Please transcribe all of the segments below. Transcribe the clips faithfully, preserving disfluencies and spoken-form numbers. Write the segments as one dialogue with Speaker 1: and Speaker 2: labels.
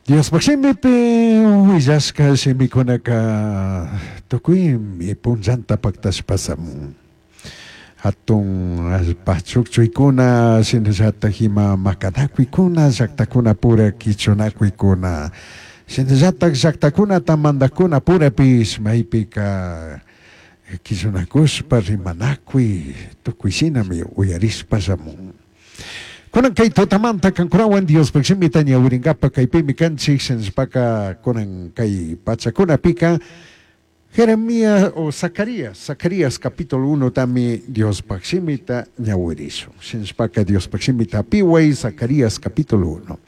Speaker 1: Diospaj shimipi willashka shimikunaka tukuymi punllanta paktashpa shamun. Hatun allpa chukchuykuna shinallatak ima makanakuykuna llaktakunapura kichunakuykuna shinallatak llaktakunata mandakkunapurapish maypika kichunakushpa rimanakuy tukuy shinami uyarishpa shamun. Kunan kay tutamanta kankunawan Diospaj shimita ñawirinkapak kaypimi kanchik shinashpaka kunan kay pachakunapika Jeremías o Zacarías, Zacarías capítulo uno tami Diospaj shimita ñawirishun. Shinashpaka Diospaj shimita piway Zacarías capítulo uno.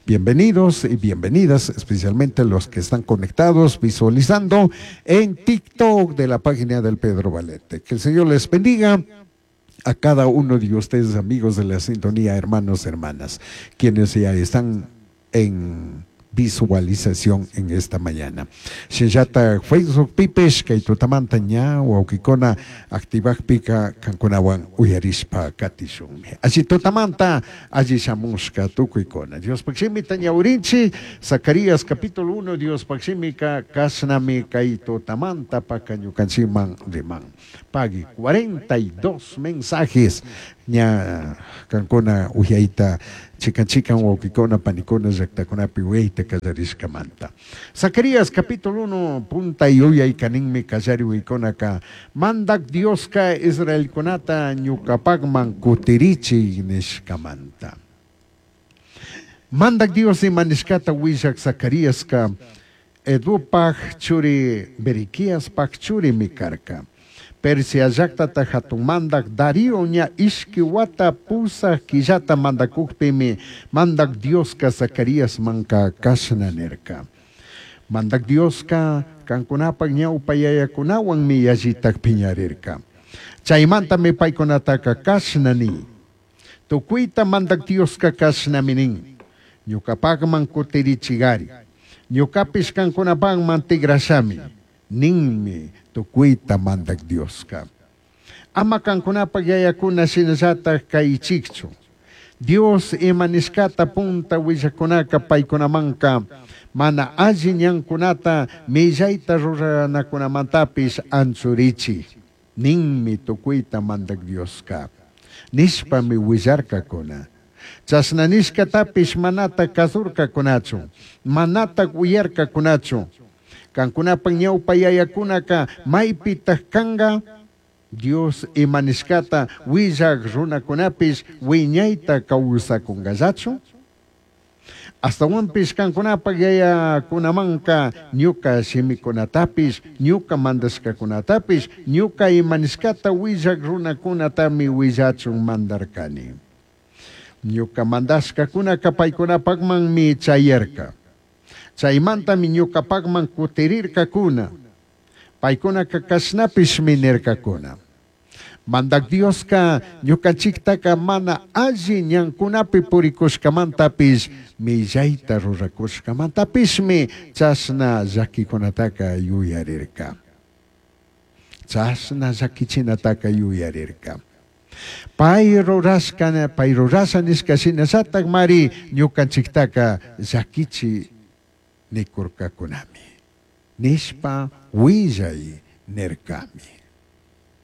Speaker 1: Bienvenidos y bienvenidas, especialmente los que están conectados, visualizando en TikTok de la página del Pedro Valente. Que el Señor les bendiga a cada uno de ustedes, amigos de la sintonía, hermanos, hermanas, quienes ya están en visualización en esta mañana. Shinllata Facebook pipish kay tutamanta ña wawkikuna activakpika kankunawan uyarishpa katishunmi. Alli tutamanta alli shamushka tukuykuna. Diospaj shimita ñawirinchik, Zacarías capítulo uno, Diospaj shimika kashnami kay tutamanta paka ñukanchikman riman. Pagui cuarenta y dos mensajes ña kankuna uyayta chikan chikan wawkikuna panikuna llaktakunapi uyayta kallarishkamanta. Zacarías capítulo uno punta yuyay kaninmi kallari uykunaka mandak Dioska Israelkunata ñukapakman kutirichi nishkamanta. Mandak Dios ima nishkata willak Zacariaska Edupaj churi Beriquiaspaj churimi karka. Persia llaktata hatun mandak Darío ña ishki wata pusaj killata mandakukpimi mandak Dioska Zacarías manka kashna nirka. Mandak Dioska kankunapak ñawpa yayakunawanmi yallitak piñarirka. Chaymantami paykunataka kashna ni. Tukuyta mandak Dioska kashnami nin. Ñukapakman kutirichigari. Ñukapish kankunapakman tigrashami. Ninmi tukuyta mandak Dioska. Ama kankunapak yayakuna shinallatak kaychikchu. Dios ima nishkata punta willakunaka paykunamanka mana alli ñankunata millayta ruranakunamantapish anchurichi. Ninmi tukuyta mandak Dioska. Nishpami willarkakuna. Chashna nishkatapish manata kasurkakunachu, manata uyarkakunachu. Kankunapak ñawpa yayakunaka maypitak kanka Dios ima nishkata willak runakunapish wiñayta kawsakunkallachu. Astawanpish kankunapak yayakunamanka ñuka shimikunatapish, ñuka mandashkakunatapish, ñuka ima nishkata willak runakunatami willachun mandarkani. Ñuka mandashkakunaka paykunapakmanmi chayarka. Chaymantami ñukapakman kutirirkakuna. Paykunaka kashnapishmi nirkakuna. Mandak Dioska ñukanchiktaka mana alli ñankunapi purikushkamantapish millayta rurakushkamantapishmi chashna llakikunataka yuyarirka. Chashna llakichinataka yuyarirka. Pay rurashka, pay rurasha nishka shinallatak mari ñukanchiktaka llakichi nikurkakunami. Nishpa willay nirkami.